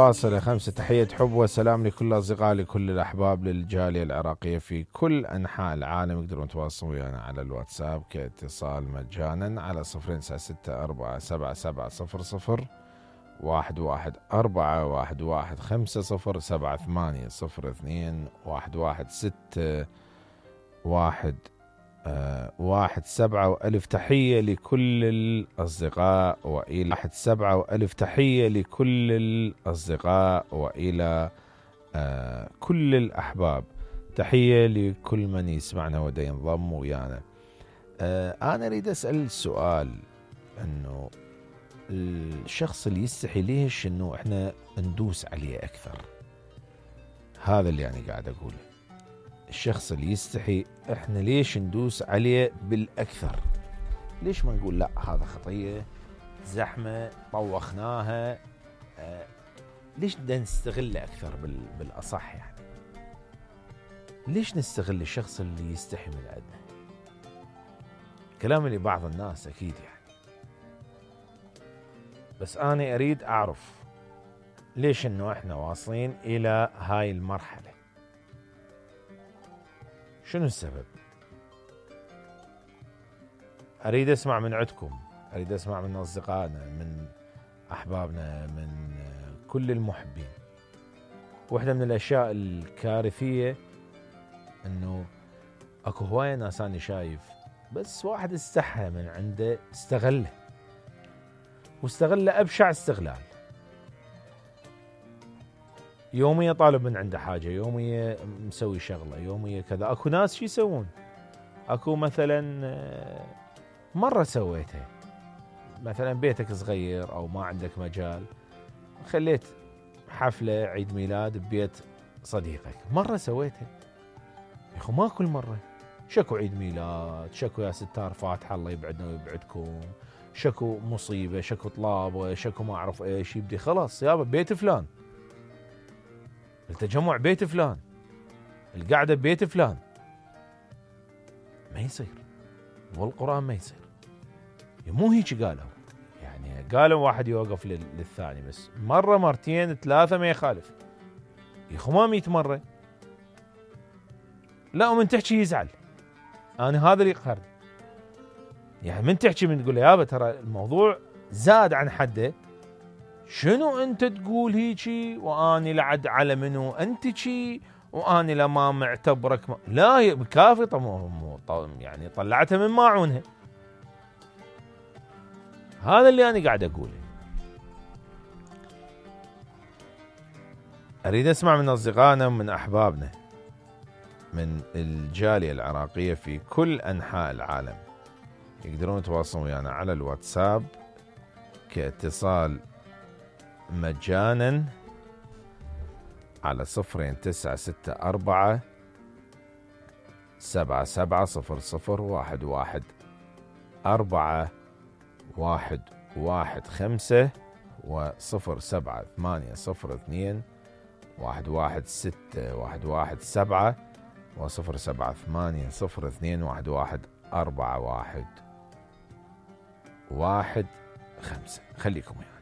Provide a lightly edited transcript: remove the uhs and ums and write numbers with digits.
فاصلة 5. تحية حب وسلام لكل الأصدقاء لكل الأحباب للجالية العراقية في كل أنحاء العالم. يقدرون يتواصلون ويانا على الواتساب كاتصال مجانا على 054-777-001-116-117. وألف تحية لكل الأصدقاء وإلى كل الأحباب. تحية لكل من يسمعنا ودا ينضم ويانا. أنا أريد أسأل سؤال، أنه الشخص اللي يستحي ليش أنه إحنا ندوس عليه أكثر؟ هذا اللي أنا قاعد أقوله. الشخص اللي يستحي إحنا ليش ندوس عليه بالأكثر؟ ليش ما نقول لا هذا خطية زحمة طوخناها؟ ليش بدنا نستغله أكثر بالأصح؟ يعني ليش نستغل الشخص اللي يستحي من عندنا؟ كلام لبعض الناس أكيد يعني، بس أنا أريد أعرف ليش إنه إحنا واصلين إلى هاي المرحلة. شنو السبب؟ أريد أسمع من عندكم، أريد أسمع من أصدقائنا، من أحبابنا، من كل المحبين. واحدة من الأشياء الكارثية أنه أكو هواية ناس أنا شايف بس واحد استحى من عنده، استغله واستغله أبشع استغلال. يومية طالب من عنده حاجة، يومية مسوي شغلة، يومية كذا. أكو ناس شو يسوون؟ أكو مثلا مرة سويتها، مثلا بيتك صغير أو ما عندك مجال، خليت حفلة عيد ميلاد ببيت صديقك. مرة سويتها يا أخو، ما كل مرة. شكو عيد ميلاد، شكو يا ستار فاتحة الله يبعدنا ويبعدكم، شكو مصيبة، شكو طلابة، شكو ما أعرف إيش. يبدي خلاص يابا بيت فلان، التجمع بيت فلان، القعدة بيت فلان. ما يصير، والقرآن ما يصير. مو هيك قالوا، يعني قالوا واحد يوقف للثاني، بس مرة مرتين ثلاثة ما يخالف. يخو ما 100 مرة. لا، ومن تحكي يزعل. أنا هذا اللي يقهرني، يعني من تحكي، من تقول يابا ترى الموضوع زاد عن حده، شنو أنت تقول هيجي وأني لعد على منو أنت شي وأني لما معتبرك لا كافي. يعني طلعتها من ماعونها. هذا اللي أنا قاعد أقوله. أريد أسمع من أصدقائنا ومن أحبابنا من الجالية العراقية في كل أنحاء العالم. يقدرون يتواصلون ويانا على الواتساب كاتصال مجانا على 096-400-77-00-415 و078-02-116-117 و078-02-11415. خليكم ويانا.